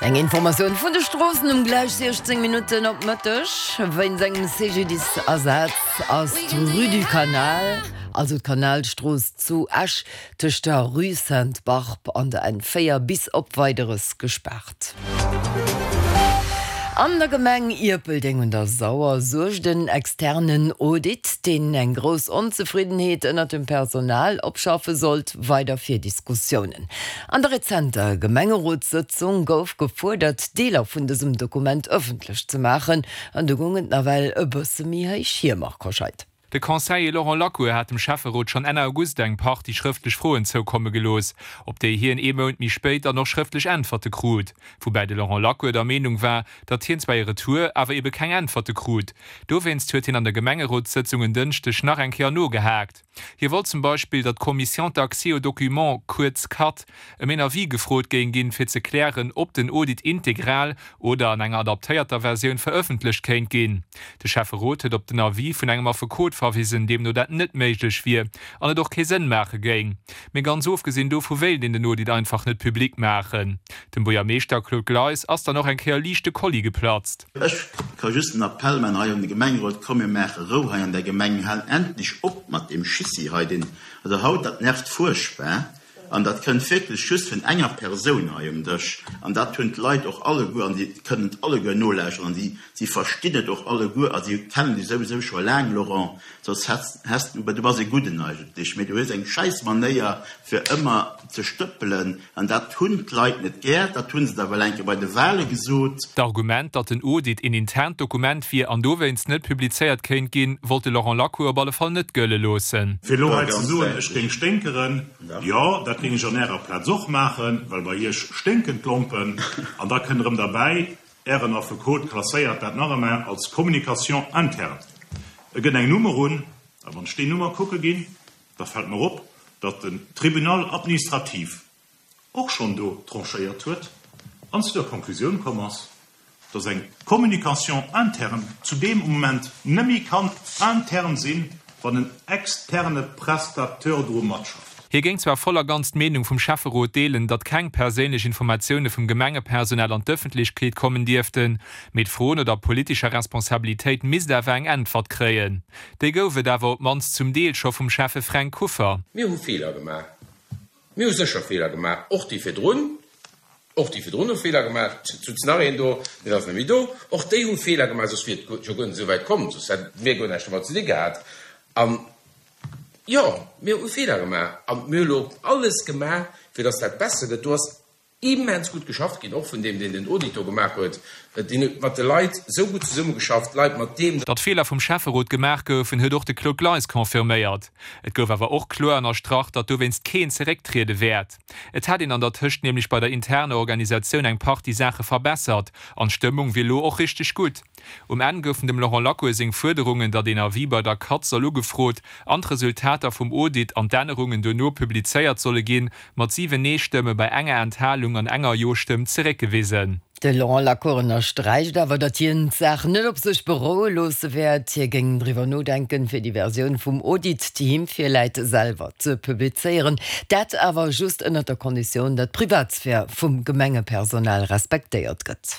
Eng Informatioun vun de Stroossen um gläich 16 Minutten op Mëtteg. Wéinst engem CGDIS-Asaz ass d'Rue du Canal, also d'Kanalstrooss zu Esch, tëscht der Rue Sainte-Barbe an der N4 bis op Weideres gespaart. An der Gemeng Ierpeldeng un der Sauer suergt en externen Audit, deen eng grouss Onzefriddenheet ënnert dem Personal opschaffe sollt, weider fir Diskussiounen. An der rezenter Gemengerotssëtzung gouf gefuerdert, Deeler vun dësem Dokument ëffentlech ze maachen. An do goung et nawell e bësse méi héich hier, Marc Hoscheid. De Conseiller Laurent Lacour hat dem Schäfferot schonn Enn August eng Partie schrëftlech Froen zoukomme gelooss, op déi hien ee Mount méi spéit dann och schrëftlech Äntwerte krut. Woubäi de Laurent Lacour der Meenung war, datt hien zwar ee Retour, awer ebe keng Äntwerte krut. Dowéinst huet hien an der Gemengerotssëtzung en Dënschdeg nach eng Kéier nogehaakt. Hie wollt zum Beispill, datt d'Commission d'accès aux documents, kuerz cad, ëm een Avis gefrot géing ginn, fir ze klären, ob den Audit integral oder an enger adaptéierter Versioun verëffentlecht kéint ginn. De Schäfferot huet op den Avis vun engem Affekot verwisen, deemno dat net méiglech wier an et och kee Sënn maache géing. Mee ganz ofgesinn dovu wéilt een den Audit einfach net public maachen. Dem Buergermeeschter Claude Gleis ass dann och eng Kéier liicht de Kolli geplatzt. Ech ka just en Appell man hei un de Gemengerot, Komm mir maache Rou hei an der Gemeng, mir halen endlech op mat deem Schissi hei, deen, also haut, dat nervt fuerchtbar an dat kënnt wierklech just vun enger Persoun hei um Dësch an dat hunn d'Leit och alleguer an si kënnen et alleguer nolauschteren an si, si verstinn et och alleguer a si kennen dech souwisou scho laang, Laurent, soss häss, häss du, du bass e Gudden eigentlech, mee du hues eng schäiss Manéier fir ëmmer ze stëppelen. An dat hunn d'Leit net gär. Dat hu se da well eng Kéier bei de Wahle gesot. D'Argument, datt den Audit een internt Dokument wier an dowéinst net publizéiert kéint ginn, wollt de Laurent Lacour op alle Fall net gëlle loossen. Fir elo hei ze soen, ech géing sténkeren, jo, dat géing ech an Ärer Plaz och maachen, well bei Iech sténken d'Lompen. An da kënnt erëm derbäi, Ären Affekot klasséiert dat nach ëmmer als Communication interne. E gëtt eng Nummer un, a wann ech déi Nummer kucke ginn, Da fält mer op, datt den Tribunal administratif och schonn do tranchéiert huet an zu der Konklusioun komm ass, datt eng Communication interne zu deem Moment nëmme kann intern sinn, wann en externe Prestateur dru matschafft. Hie géing zwar voll a ganz d'Meenung vum Schäfferot deelen, datt keng perséinlech Informatioune vum Gemengepersonal an d'Ëffentlechkeet kommen dierften, mee d'Fro no der politescher Responsabilitéit misst awer eng Äntwert kréien. Déi gouf et awer op d'mannst zum Deel scho vum Schäffe Fränk Kuffer. Mir hu Feeler gemaach. Mir hu sécher Feeler gemaach, och déi virdrun. Och déi virdrun hu Feeler gemaach. Et sutz nach een do, deen ass net méi do. Och déi hu Feeler gemaach, soss wier et jo guer net esou wäit komm, soss hätte mir guer näischt domat ze di gehat. An jo, mir hu Feeler gemaach a mir hu elo alles gemaach, fir datt dat besser gëtt. Do ass immens gutt geschafft ginn, och vun deem, deen den Audit do gemaach huet, deen huet mat de Leit esou gutt zesummegeschafft, d'Leit mat deem. Datt Feeler vum Schäfferot gemaach goufen, huet och de Claude Gleis confirméiert. Et gouf awer och kloer ënnerstrach, datt dowéinst keen zerécktriede wäert. Et hätt een an der Tëscht nämlech bei der interner Organisatioun eng Partie Saache verbessert an d'Stëmmung wier lo och richteg gutt. Um Enn goufen dem Laurent Lacour seng Fuerderungen, datt een Avis bei der cad soll ugefrot an d'Resultater vum Audit an d'Ännerungen duerno publizéiert solle ginn, mat 7 Nee-Stëmme bei enger Enthalung an enger Jo-Stëmm zeréckgewisen. De Laurent Lacour ënnersträicht awer, datt hien d'Saach net op sech beroue loosse wäert. Hie géing driwwer nodenken, fir déi Versioun vum Audit, déi him virläit, selwer ze publizéieren. Dat awer just ënnert der Konditioun, datt d'Privatsphär vum Gemengepersonal respektéiert gëtt.